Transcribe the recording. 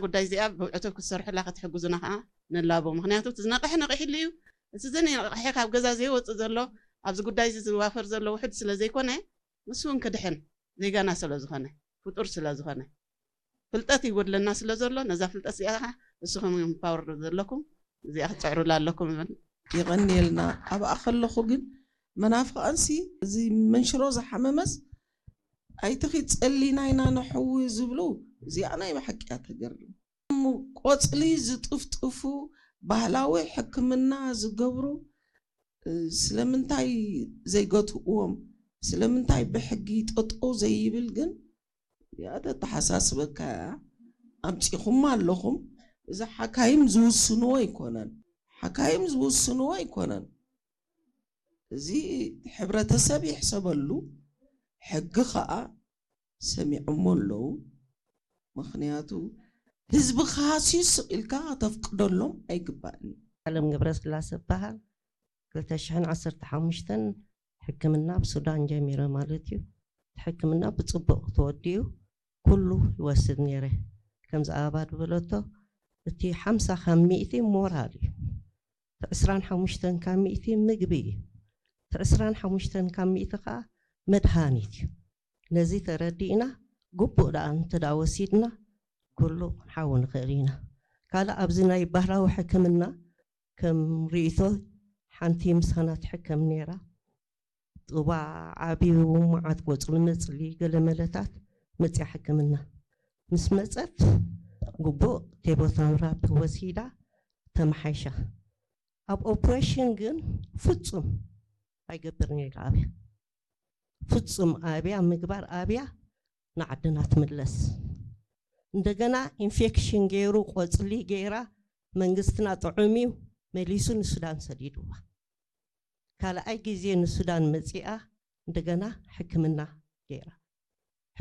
ጉዳይ እዚኣ ብዕቱብ ክትሰርሑላ ክትሕግዙና ከዓ ንላቦ። ምክንያቱ እቲ ዝነቕሐ ነቒሕሉ እዩ። እቲ ዘይነቕሐ ካብ ገዛ ዘይወፅእ ዘሎ ኣብዚ ጉዳይ እዚ ዝዋፈር ዘሎ ውሕድ ስለ ዘይኮነ ንሱ እውን ክድሕን ዜጋና ስለ ዝኾነ ፍጡር ስለ ዝኾነ ፍልጠት ይጎድለና ስለ ዘሎ ነዛ ፍልጠት እዚኣ ከዓ ንስኹም እዮም ፓወር ዘለኩም እዚኣ ክትፅዕሩላ ኣለኩም ይብል። የቐንየልና። ኣብኣ ከለኹ ግን መናፍቓንሲ እዚ መንሽሮ ዝሓመመስ ኣይትኺ ጸሊና ኢና ንሕዊ ዝብሉ እዚኣ ናይ ብሓቂ እያ ተገርም። ቆጽሊ ዝጥፍጥፉ ባህላዊ ሕክምና ዝገብሩ ስለምንታይ ዘይገትእዎም? ስለምንታይ ብሕጊ ጠጠው ዘይብል ግን እያ ተተሓሳስበካ እያ። ኣምፂኹም ኣለኹም። እዚ ሓካይም ዝውስንዎ ኣይኮነን፣ ሓካይም ዝውስንዎ ኣይኮነን። እዚ ሕብረተሰብ ይሕሰበሉ፣ ሕጊ ከዓ ሰሚዖሞ ኣለዉ። ምክንያቱ ህዝቢ ካሃስዩ ስቕ ኢልካ ከተፍቅደሎም ኣይግባእን እዩ። ኣለም ገብረስላሰ በሃል ክልተ ሽሕን ዓሰርተ ሓሙሽተን ሕክምና ኣብ ሱዳን ጀሚረ ማለት እዩ። ሕክምና ብፅቡቕ ተወዲኡ ኩሉ ይወስድ ነይረ። ከምዚ ኣበባ ዝበለቶ እቲ ሓምሳ ካብ ሚእቲ ሞራል እዩ። እቲ ዕስራን ሓሙሽተን ካብ ሚእቲ ምግቢ እዩ። እቲ ዕስራን ሓሙሽተን ካብ ሚእቲ ከዓ መድሃኒት እዩ። ነዚ ተረዲእና ግቡእ ደኣ እንተዳ ወሲድና ኩሉ ክንሓዊ ንኽእል ኢና። ካልእ ኣብዚ ናይ ባህላዊ ሕክምና ከም ርእይቶ ሓንቲ ምሳና ትሕከም ነይራ። ጡባ ዓብዩ መዓት ቆፅሊ መፅሊ ገለመለታት መፅያ ሕክምና ምስ መፀት ግቡእ ቴቦታንራፕ ወሲዳ ተመሓይሻ። ኣብ ኦፕሬሽን ግን ፍፁም ኣይገብርን ኢላ ኣብያ ፍፁም ኣብያ ምግባር ኣብያ ንዓድና ትምለስ። እንደገና ኢንፌክሽን ገይሩ ቆፅሊ ገይራ መንግስትና ጥዑም እዩ መሊሱ ንሱዳን ሰዲድዋ። ካልኣይ ግዜ ንሱዳን መፂኣ እንደገና ሕክምና ገይራ።